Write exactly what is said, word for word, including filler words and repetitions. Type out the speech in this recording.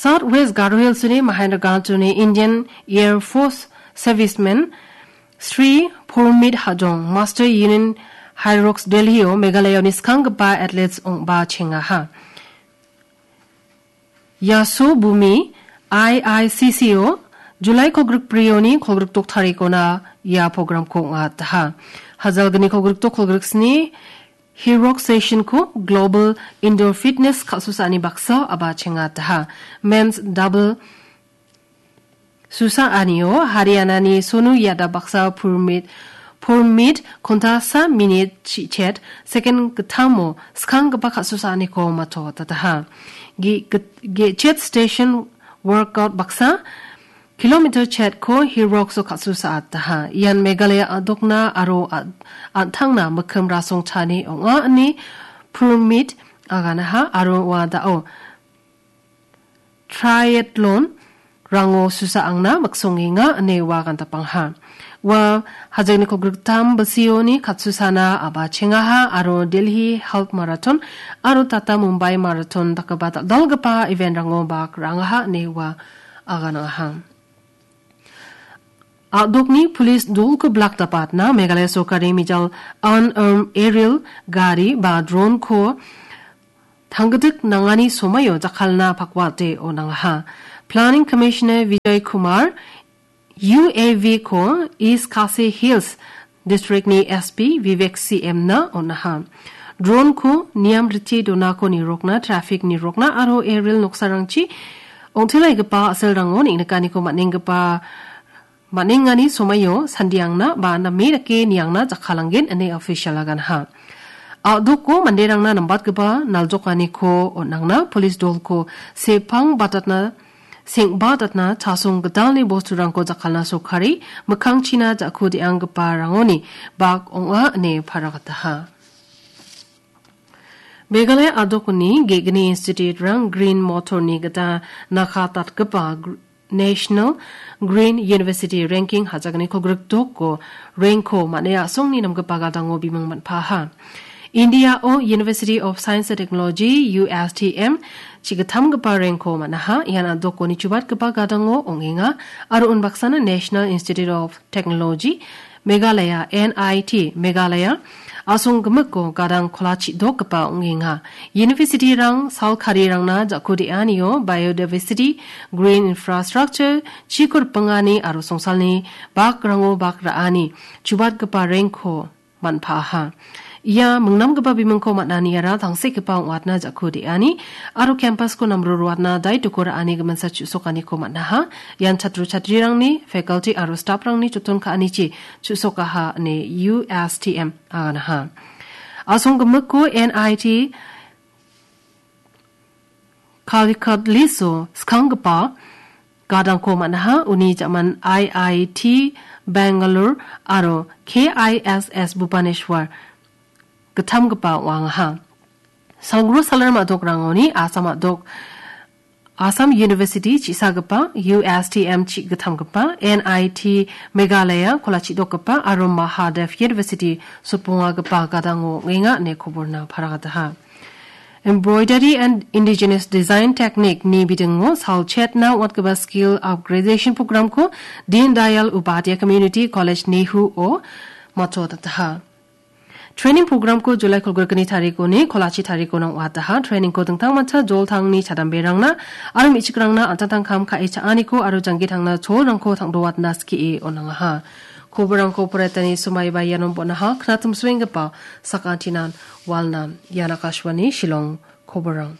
South West Garo Hills-ni Mahendra Ganj-oni Indian Air Force serviceman Sri Purmit Hajong, Master Union High Rocks Delhi-o Meghalaya-oni skanggipa athletes ong·ba chengaha. Yaso Bumi I I C C-o July kolgrik brioni kolgrik dok tarikona ia programko ong·ataha. Hajalgni kolgrik dok kolgrik sni Hirok Session-ko Global Indoor Fitness kal·susaani baksa aba chengataha. Men's double susaanio Haryana-ni Sonu Yadav baksa purmit, purmit kontasa minit chichet second gittamo skanggipa kal·susaaniko matotataha. Ge-, ge-, ge-, chet station workout baksa kilometer chetko Hirokso kal·susaataha. Ian Meghalaya a·dokna aro a-, an·tangna mikkim rasongchani ong·a ine purmit aganaha aro ua dao triathlon rango susaangna miksongenga ine ua gandapangha. Ua hajengni kolgriktam bisioni kal·susana aba chengaha aro Delhi Half Marathon aro Tata Mumbai Marathon dakgipa dal·dalgipa event-rango bak ra·angaha ine ua aganangaha. A·dokni police dolko blak dapatna Meghalaya sorkari mijal unarmed aerial gari ba drone-ko tanggitik nangani somaio jakkalna pakwate on·angaha. Planning Commissioner Vijay Kumar U A V-ko East Khasi Hills District-ni S P Vivek C M-na on·aha. Drone-ko niam rite donako nirokna, traffic nirokna aro aerial noksarangchi ong·telaigipa a·selrango neng·nikaniko man·enggipa, man·engani somaio sandiangna ba name dake niangna jakkalanggen ine official aganha. A·doko manderangna nambatgipa naljokaniko on·angna police dolko sepang batatna, seng·batatna chasong gitalni bosturangko jakkalna sorkari mikkangchina ja·ku de·anggiparangoni bak ong·a ine paragataha. Meghalaya a·dokni ge·gni institute-rang Green Motor-ni gita nakatatgipa gr-, National Green University Ranking hajakni kolgrik doko rank-ko man·e a·songni namgipa gadango bimung man·paha. India-o University of Science and Technology, U S T M, chigittamgipa rank-ko man·aha. Ian a·dokoni chubatgipa gadango ong·enga aro unbaksana National Institute of Technology, Meghalaya, N I T, Meghalaya, a·songgimiko gadang kolachi dokgipa ong·enga. University-rang salkarirangna ja·ku de·anio biodiversity, green infrastructure, chiko ripengani aro songsalni bakrango bak ra·ani chubatgipa rank-ko man·paha. Ia mingnamgipa bimingko man·aniara tangsekgipa ong·atna ja·ku de·ani aro campus-ko namro roatna daitoko ra·ani giminsa chu·sokaniko man·aha. Ian chatro chatrirangni, faculty aro staff-rangni joton ka·anichi chu·sokaha ine U S T M aganaha. A·songgimiko N I T Calicut Liso skanggipa gadangko man·aha, uni jaman I I T Bangalore aro K I S S Bhubaneswar gittamgipa ong·angaha. Salgro salar ma·dokrangoni Assam a·dok, Assam University chi·sagipa, U S T M chi gittamgipa, N I T Meghalaya kolachi dokgipa aro Mahadev University sopongagipa gadango ong·enga ine koborna paragataha. Embroidery and Indigenous Design Technique ni bidingo salchetna ong·atgipa skill upgradation program-ko Deen Dayal Upadhyay Community College Nehu-o matchotataha. Training program-ko July kolgrikni tarikoni kolachi tarikona ong·ataha. Training-ko dingtangmancha joltangni chadamberangna aro me·chikrangna an·tangtangkam ka·e cha·aniko aro janggi tangna cholrangko tang·doatna skie on·angaha. Koborangko poraitani somaiba ianon bon·aha. Knatim suenggipa sakantinan walnan. Ian Akashvani Shillong koborang.